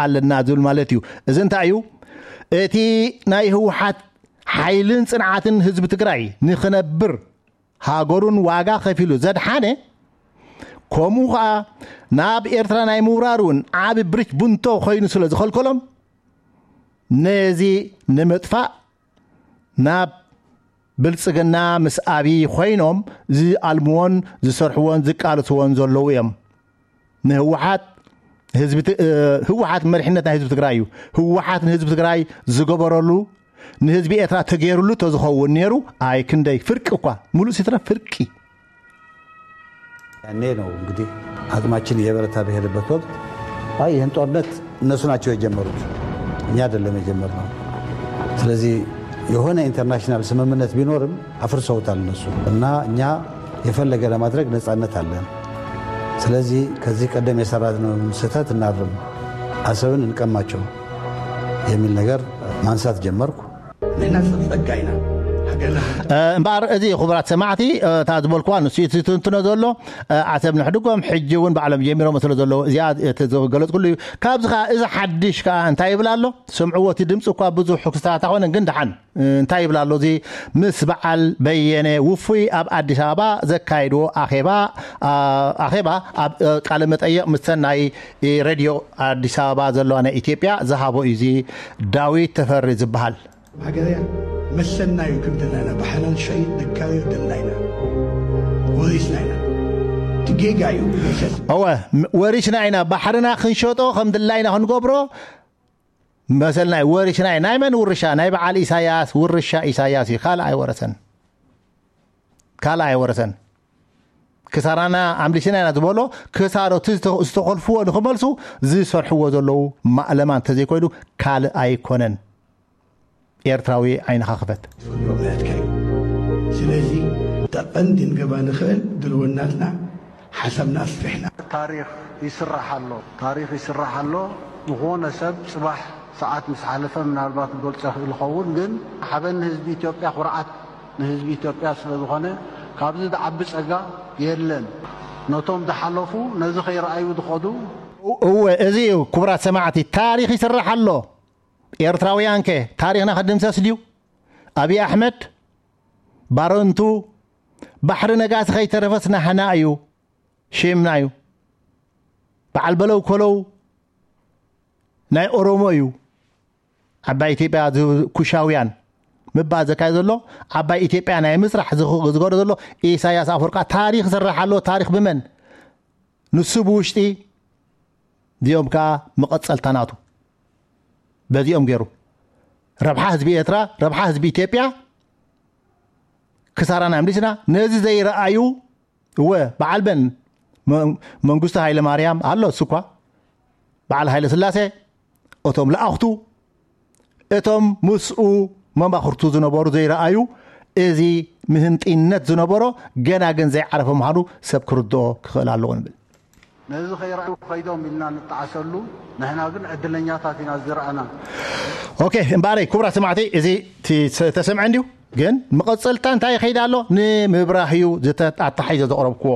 ኣለና ዝብል ማለት እዩ። እዚ እንታይ እዩ? እቲ ናይ ህወሓት ሓይልን ጽንዓትን ህዝቢ ትግራይ ንኽነብር ሃገሩን ዋጋ ከፊሉ ዘድሓነ፣ ከምኡ ኸዓ ናብ ኤርትራ ናይ ምውራር እውን ዓቢ ብሪክ ቡንቶ ኮይኑ ስለ ዝኸልከሎም፣ ነዚ ንምጥፋእ ናብ ብልጽግና ምስ ኣብይ ኮይኖም ዝኣልምዎን ዝሰርሕዎን ዝቃልስዎን ዘለዉ እዮም። ንህወሓት ህዝቢ ት-፣ እ፣ ህወሓት መሪሕነት ናይ ህዝቢ ትግራይ እዩ። ህወሓት ንህዝቢ ትግራይ ዝገበረሉ ንህዝቢ ኤርትራ ተገይሩሉ ተዝኸውን ነይሩ፣ ኣይ ክንደይ ፍርቂ እኳ፣ ሙሉእ ሲትረ ፍርቂ። ያኔ ነው እንግዲህ አቅማችን እየበረታ በሄደበት ወቅት፣ አይ ይህን ጦርነት እነሱ ናቸው የጀመሩት፣ እኛ አይደለም የጀመርነው። ስለዚህ የሆነ ኢንተርናሽናል ስምምነት ቢኖርም አፍርሰውታል እነሱ እና እኛ የፈለገ ለማድረግ ነጻነት አለን። ስለዚህ ከዚህ ቀደም የሰራነውን ስህተት እናርም፣ አሰብን እንቀማቸው የሚል ነገር ማንሳት ጀመርኩ። ንሕና ሰብ ጸጋ ኢና። ሃገርና እምበኣር እዚ ክቡራት ሰማዕቲ፣ እታ ዝበልኩዋ ንሱ እዩ ትንትኖ ዘሎ። ዓሰብ ንሕድጎም ሕጂ እውን ባዕሎም ጀሚሮም ስለ ዘለዉ እዚኣ እቲ ዝገለጽኩሉ እዩ። ካብዚ ከኣ እዚ ሓድሽ ከኣ እንታይ ይብል ኣሎ? ስምዕዎ፣ እቲ ድምፂ እኳ ብዙሕ ክስታታ ኾነ ግን ደሓን እንታይ ይብል ኣሎ? እዚ ምስ በዓል በየነ ውፉይ ኣብ ኣዲስ ኣበባ ዘካየድዎ ኣኼባ፣ ኣኼባ ኣብ ቃለ መጠይቕ ምስተን ናይ ሬድዮ ኣዲስ ኣበባ ዘለዋ ናይ ኢትዮጵያ ዝሃቦ እዩ። እዚ ዳዊት ተፈሪ ዝበሃል። ሃገርያ መሰልና እዩ ክንብል ኢና። ብሓላል ሸይጥ ነካርዮ ደልና ኢና። ወሪስና ኢና። እቲ ጌጋ እዩ መሰል። እወ፣ ወሪስና ኢና። ባሕርና ክንሸጦ ከም ድላይና ክንገብሮ መሰልና እዩ። ወሪስና ኢና። ናይ መን ውርሻ? ናይ በዓል ኢሳያስ ውርሻ። ኢሳያስ እዩ። ካልእ ኣይወረሰን። ካልእ ኣይወረሰን። ክሳራና ኣምሊስና ኢና ዝበሎ ክሳሮት ዝተኸልፍዎ ንኽመልሱ ዝሰርሕዎ ዘለዉ ማእለማ እንተዘይኮይኑ ካልእ ኣይኮነን። ኤርትራዊ ዓይንኻ ክፈት። ስለዚ ቀንዲ ንገባ ንኽእል ድልውናትና ሓሳብና ኣስፊሕና። ታሪኽ ይስራሕ ኣሎ። ታሪኽ ይስራሕ ኣሎ። ዝኾነ ሰብ ጽባሕ ሰዓት ምስ ሓለፈ ምናልባት ክገልጾ ይኽእል ይኸውን፣ ግን ሓበን ንህዝቢ ኢትዮጵያ፣ ኩርዓት ንህዝቢ ኢትዮጵያ ስለ ዝኾነ ካብዚ ዝዓቢ ጸጋ የለን። ነቶም ዝሓለፉ ነዚ ከይረኣዩ ዝኸዱ እወ፣ እዚ እዩ ክቡራት ሰማዕቲ፣ ታሪኽ ይስራሕ ኣሎ። ኤርትራውያን ከ ታሪኽና ክድምሰስ ድዩ? ኣብይ ኣሕመድ ባረንቱ ባሕሪ ነጋሲ ከይተረፈስ ናህና እዩ፣ ሽምና እዩ። በዓል በለው ኮለው ናይ ኦሮሞ እዩ። ዓባይ ኢትዮጵያ ዝ-፣ ኩሻውያን ምባል ዘካየደ ዘሎ፣ ዓባይ ኢትዮጵያ ናይ ምስራሕ ዝኽ-፣ ዝገበረ ዘሎ ኢሳያስ ኣፈወርቃ ታሪኽ ይስራሕ ኣሎ። ታሪኽ ብመን? ንሱ ብውሽጢ፣ እዚኦም ከኣ መቐጸልታ ናቱ። በዚኦም ገይሩ ረብሓ ህዝቢ ኤርትራ፣ ረብሓ ህዝቢ ኢትዮጵያ ክሳራና ኣምሊስና። ነዚ ዘይረኣዩ፣ እወ፣ በዓል መን? መ-፣ መንግስቱ ሃይለ ማርያም ኣሎ፣ እሱ እኳ በዓል ሃይለ ስላሴ፣ እቶም ለኣኽቱ፣ እቶም ምስኡ መማኽርቱ ዝነበሩ ዘይረኣዩ፣ እዚ ምህንጢነት ዝነበሮ ገና ግን ዘይዓረፈ ምዃኑ ሰብ ክርድኦ ክኽእል ኣለዎ ንብል። ነዚ ከይረኣዩ ከይዶም ኢልና ንጠዓሰሉ፣ ንሕና ግን ዕድለኛታት ኢና ዝረኣና። ኦኬ፣ እምበኣረይ ክቡራት ሰማዕቲ፣ እዚ ቲ-፣ ተ-፣ ተሰምዐ እንድዩ፣ ግን መቐጸልታ እንታይ ይኸይድ ኣሎ? ንምብራህ እዩ ዝተ-፣ ኣተሓሒዘ ዘቕረብክዎ።